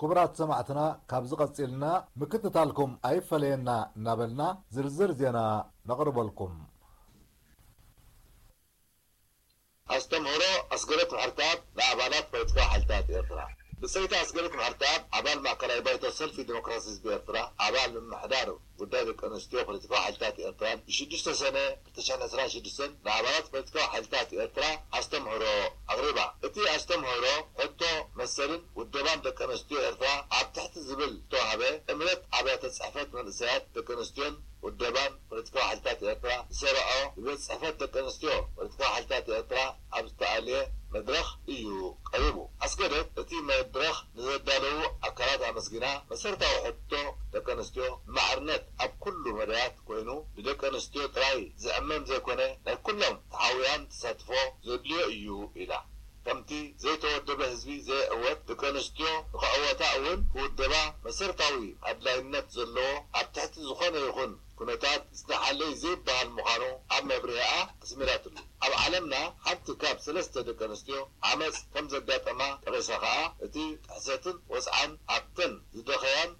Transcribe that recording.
ክቡራት ሰማዕትና፣ ካብዚ ቀጺልና ምክትታልኩም ኣይፈለየና እናበልና ዝርዝር ዜና ነቕርበልኩም። ኣስተምህሮ ኣስገደት ምሕርተኣብ ንኣባላት ፖለቲካዊ ሓይልታት ኤርትራ። ብጸይቲ ኣስገደት ምሕርተኣብ ኣባል ማእከላይ ባይቶ ሰልፊ ዲሞክራሲ ህዝቢ ኤርትራ፣ ኣባል ምምሕዳር ጉዳይ ደቂ ኣንስትዮ ፖለቲካዊ ሓይልታት ኤርትራን ብሽዱሽተ ሰነ ክልተ ሽሕን ዕስራን ሽዱሽተን ንኣባላት ፖለቲካዊ ሓይልታት ኤርትራ ኣስተምህሮ ኣቕሪባ። እቲ ኣስተምህሮ ሕቶ መሰልን ውደባን ደቂ ኣንስትዮ ኤርትራ ኣብ ትሕቲ ዝብል ዝተዋህበ ጥምረት ኣብያተ ጽሕፈት መንእሰያት ደቂ ኣንስትዮን ውደባን ፖለቲካዊ ሓይልታት ኤርትራ ዝሰርዖ ብቤት ጽሕፈት ደቂ ኣንስትዮ ፖለቲካዊ ሓይልታት ኤርትራ ኣብ ዝተኣልየ መድረኽ እዩ ቀሪቡ። ኣስገደት እቲ መድረኽ ንዘዳለዉ ኣካላት ኣመስጊና፣ መሰረታዊ ሕቶ ደቂ ኣንስትዮ ማዕርነት ኣብ ኩሉ መዳያት ኮይኑ ብደቂ ኣንስትዮ ጥራይ ዝዕመም ዘይኮነ ናይ ኩሎም ተሓውያን ተሳትፎ ዘድልዮ እዩ ኢላ። ከምቲ ዘይተወደበ ህዝቢ ዘይዕወት ደቂ ኣንስትዮ ንኽዕወታ እውን ክውደባ መሰረታዊ ኣድላይነት ዘለዎ ኣብ ትሕቲ ዝኾነ ይኹን ኩነታት ዝነሓለይ ዘይበሃል ምዃኑ ኣብ መብርሂኣ ኣስሚራትሉ። ኣብ ዓለምና ሓንቲ ካብ ሰለስተ ደቂ ኣንስትዮ ዓመፅ ከም ዘጋጠማ ጠቒሳ ከኣ እቲ ጥሕሰትን ወፅዓን ኣብተን ዝደኸያን